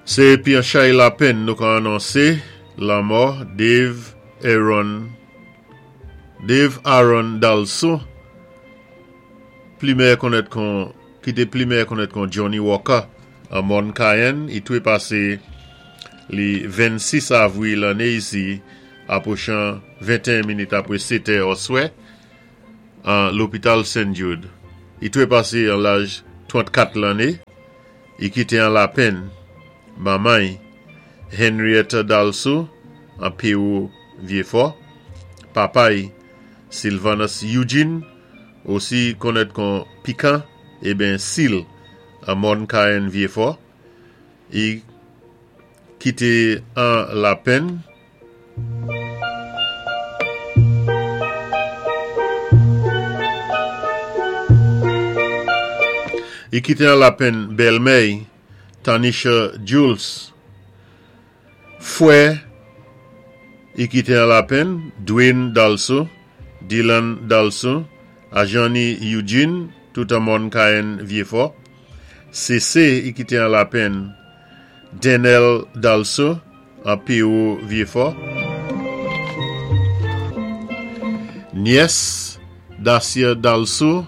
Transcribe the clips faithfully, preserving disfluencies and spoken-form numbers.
Sé épi an chay lapenn nou ka anonsé lanmò Dave Aaron Dave Aaron Dalso pli mèyè konnèt kon ki té pli mèyè konnèt kon Johnny Walker an Mòn Cayenne i twé pasé li vennsis avwil lanné isi apwochan venteyen minit apwé sétè oswè an lopital Saint Jude. I twé pasé an laj twant-kat lanné. I kité an lapenn manman Henrietta Dalso an Pewou Vyéfò, papa'y Sylvanus Eugene osi konnèt kon Pikan ébyen Sil an Mòn Cayenne Vyéfò. I kité an lapenn I kité an lapenn bèlmè'y Tanisha Jules. Fwè i kité an lapenn Dwayne Dalso, Dylan Dalso, Ajani Eugene, tout an Mòn Cayenne Vyéfò. Sési i kité an lapenn Denel Dalso an Pewou Vyéfò. Nyès Dacia Dalso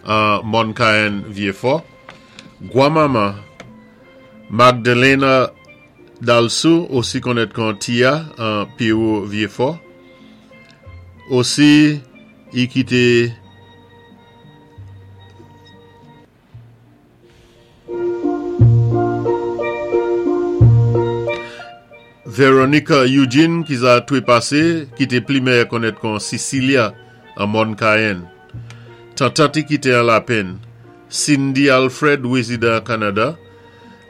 an Mòn Cayenne Vyéfò. Gwanmanman Magdalena Dalso osi konnèt kon Tia an Pewou Vyéfò. Osi i kité Veronica Eugene ki za twé pasé, ki té pli mèyè konnèt kon Cecilia an Mòn Cayenne. Tantant i kité an lapenn Cindy Alfred wézidan Kanada,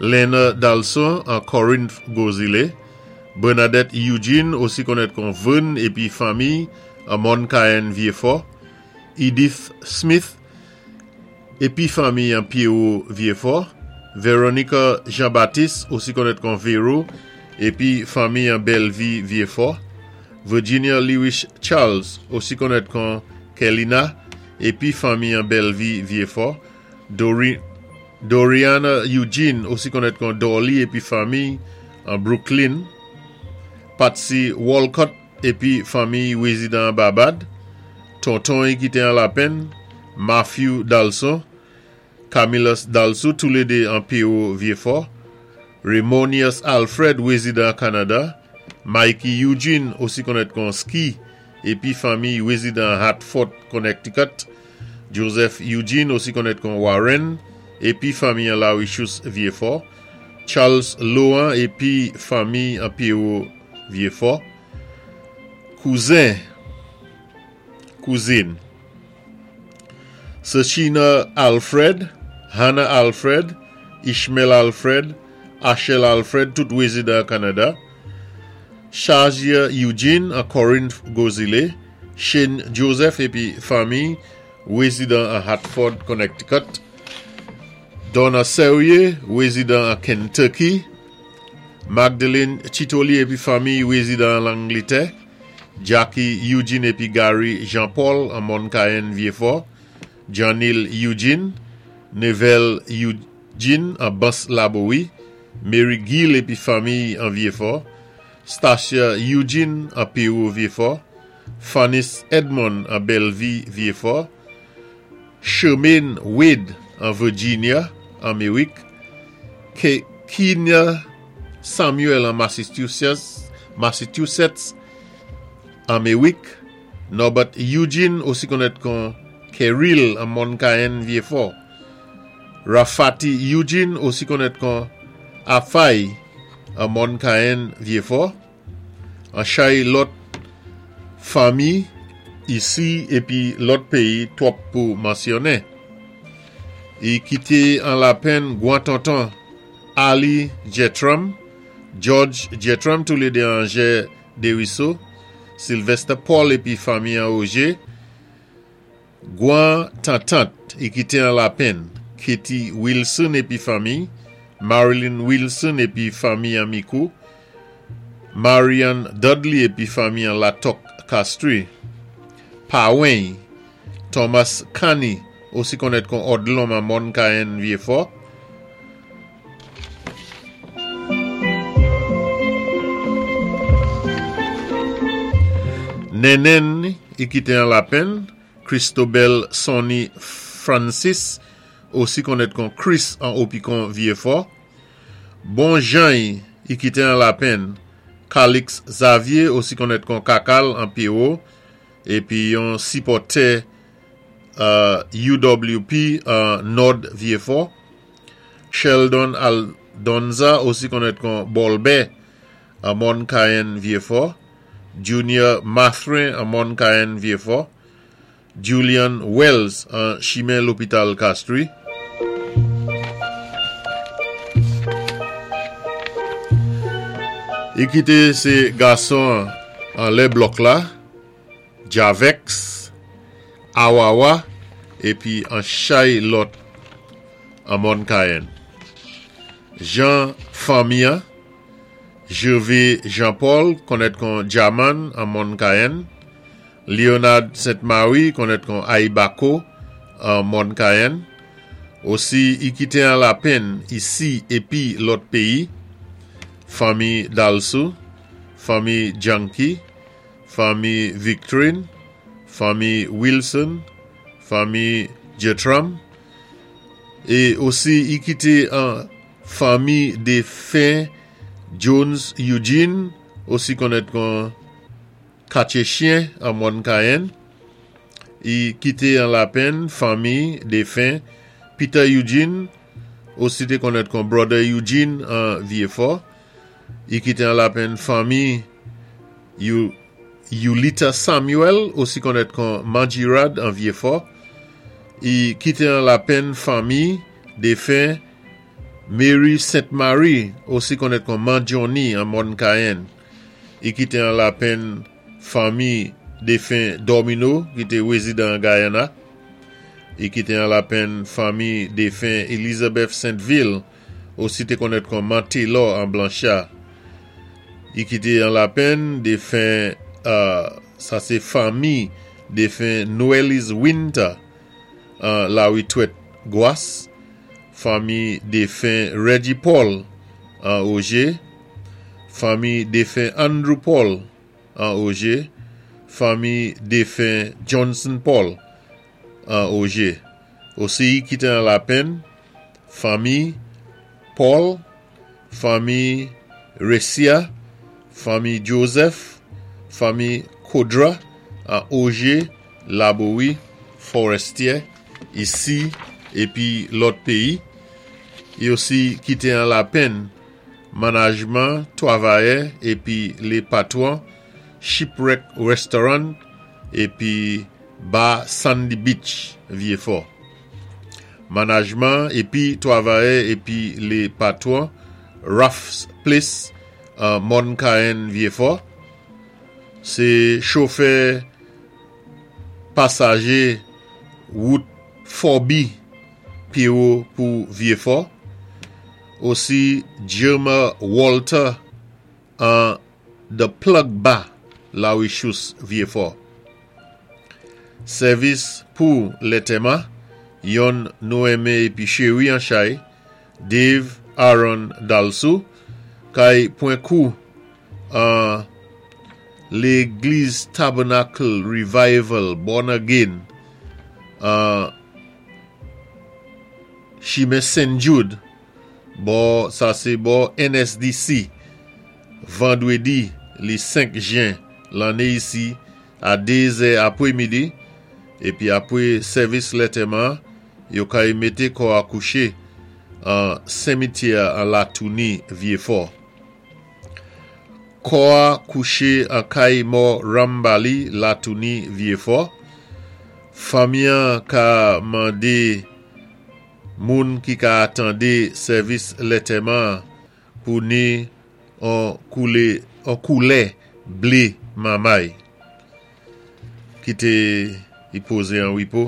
Lena Dalson an Corinth Gwozilé, Bernadette Eugene osi konnèt kon Vern épi fanmi an Mòn Cayenne Vyéfò, Edith Smith épi fanmi an Pewou Vyéfò, Veronica Jean-Baptiste osi konnèt kon Vero épi fanmi an Bellevue Vyéfò, Virginia Lewis Charles osi konnèt kon Kelina épi fanmi an Bellevue Vyéfò, Dori, Doriana Eugene osi konnèt kon Dolly épi fanmi an Brooklyn, Patsy Walcott épi fanmi wézidan Barbade, tonton i kité an lapenn Matthew Dalson, Camillus Dalso toulédé an Pewou Vyéfò, Raymonius Alfred wézidan Kanada, Mikey Eugene osi konnèt kon Ski épi fanmi wézidan Hartford, Connecticut, Joseph Eugene osi konnèt kon Warren épi fanmi an Lawishus Vyéfò, Charles Lohan épi fanmi an Pewou Vyéfò, kouzen, kouzin, Sachina Alfred, Hannah Alfred, Ishmael Alfred, Ashel Alfred, tout wézidan Kanada, Shazia Eugene an Corinth Gwozilé, Shane Joseph épi fanmi wézidan an Hartford, Connecticut, Donna Serrier, wézidan an Kentucky, Magdalene Chitoli épi fanmi wézidan an Langlitè, Jackie Eugene épi Gary Jean-Paul an Mòn Cayenne Vyéfò, Janil Eugene, Neville Eugene an Bas Labowi, Mary Gill épi fanmi an Vyéfò, Stacia Eugene an Pewou Vyéfò, Fanis Edmond an Bellevue Vyéfò, Shermaine Wade an Virginia, Améwik, Ke Kenya Samuel an Massachusetts, Massachusetts, Améwik, Norbert Eugene osi konnèt kon Keril an Mòn Cayenne Vyéfò, Rafati Eugene osi konnèt kon Afay an Mòn Cayenne Vyéfò, an chay lòt fanmi isi épi lòt péyi twòp pou mansyonnen. I kité an lapenn gwan tonton Ali Jetram, George Jetram toulédé an Jè Dériso, Sylvester Paul épi fanmi an Ogé, gwan tantant i kité an lapenn Katie Wilson épi fanmi, Marilyn Wilson épi fanmi an Micoud, Marianne Dudley épi fanmi an Latok Castries, Pawen Thomas Cani osi konnèt kon Odlon an Mòn Cayenne Vyéfò, Nenen i kité an lapenn, Christobel Sonny Francis, osi konnèt kon Chris an Opikon Vieux-Fort. Bon Jean i kité an lapenn, Calix Xavier, osi konnèt kon Kakal an Pierrot, épi yon sipòtè euh, U W P an Nord Vieux-Fort. Sheldon Aldonza, osi konnèt kon Bolbè an Mòn Cayenne Vieux-Fort. Junior Mathrin an Mòn Cayenne Vieux-Fort. Julian Wells an chimen lopital Castries. I kité sé gason anlè blòk la, Javex, Awawa, épi an chay lòt an Mòn Cayenne. Jean fanmi, Gervais Jean-Paul, konnèt kon Jaman an Mòn Cayenne. Leonard Sainte-Marie, konnèt kon Aibako an Mòn Cayenne. Osi, i kité an lapenn isi épi lòt péyi. Fanmi Dalsou, fanmi Janky, fanmi Victorine, fanmi Wilson, fanmi Jetram, é osi i kité an fanmi défen Jones Eugene, osi konnèt kon Katye Chien an Mòn Cayenne. I kité an lapenn fanmi défen Peter Eugene, osi té konnèt kon Brother Eugene an Vieux-Fort. I kité an lapenn fanmi Yulita Samuel, osi konnèt kon Manjirad an Vieux-Fort. I kité an lapenn fanmi défen Mary Sainte Marie, osi konnèt kon Manjoni an Mòn Cayenne. I kité an lapenn fanmi défen Domino, ki té wézidan Guyana. I kité an lapenn fanmi défen Elizabeth Saint-Ville, osi té konnèt kon Mantelor an Blanchard. I kité an lapenn défen, euh, sa sé fanmi défen Noelis Winter an Lawi Twet Gwas. Fanmi défen Reggie Paul an Auger. Fanmi défen Andrew Paul an Auger. Fanmi défen Johnson Paul an Auger. Osi i kité an lapenn fanmi Paul, fanmi Resia, fanmi Joseph, fanmi Kodra an Auger, Laborie, Forestier, isi épi lòt péyi. I osi kité an lapenn manajman, twavayè épi lé patwon Shipwreck Restaurant épi Bar Sandy Beach, Vieux-Fort. Manajman épi twavayè épi lé patwon Ralph's Place an Mòn Cayenne Vieux-Fort. Sé chofè pasajé wout Forby Pierrot pou Vieux-Fort. Osi Jerma Walter an The Plug Bar, Lawichous Vieux-Fort. Sèvis pou lantèman, yon nou enmen épi chéri an chay, Dave Aaron Dalsou, kay pwan kou an Légliz Tabernacle Revival Born Again an chimen Saint Jude, bò, sa sé bò N S D C, vandwédi li senk jen lanné isi a dé zè apwé midi, épi apwé sèvis lantèman, yo kay mété kò a kouché an simityè an Latouni Vieux-Fort. Kò a kouché an kay mò Rambali Latouni Vieux-Fort. Fanmi an ka mandé moun ki ka atandé sèvis lantèman pou ni an koulè, an koulè blé mamay. Kité i pozé an wipo.